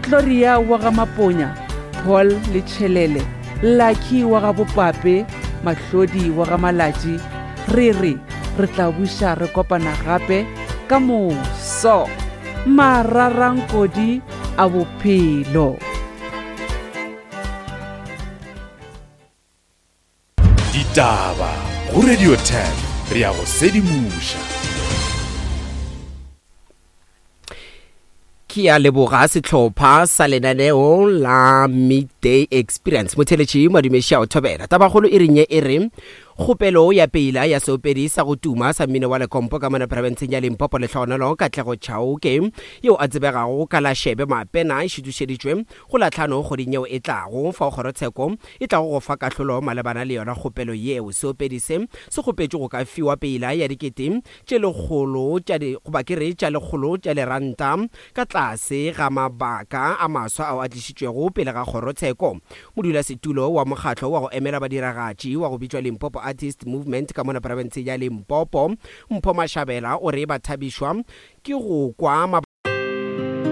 Gloria wa ga Maponya, Paul Letšhelele, Lucky wa ga Bopape, Mahlodi wa ga Malatši, re re re tla buša re kopana gape ka moso. Mararankodi a bophelo. Ditaba go Radio 10 re ya go sedimoša. Ke a leboga sehlopha sa lenaneo la Midday Experience. Motheletši Madumeši a o thobela. Tabakgolo e reng ye e re kgopelo ya peila ya seopedi sa go tuma sa mmino wa lekompo ka mona profenseng ya Limpopo Lehlohonolo Katlego Chauke yeo a tsebegago ka la Shebe Mapena e šutušeditšwe go la tlhano kgweding yeo e tlago fao kgorotsheko e tlago go fa kahlolo malebana le yona kgopelo yeo. Seopedi se se kgopetšwe go ka fiwa peila ya dikete tše lekgolo tša di, goba ke re tša lekgolo tša diranta ka tlase ga mabaka a maswa ao a tlišitšwego pele ga kgorotsheko. Modulasetulo wa mokgatlo wa go emela badiragatši wa go bitšwa Limpopo Artist Movement ka mona profenseng ya Limpopo, Mpho Mashabela o re ba thabišwa ke go kwa.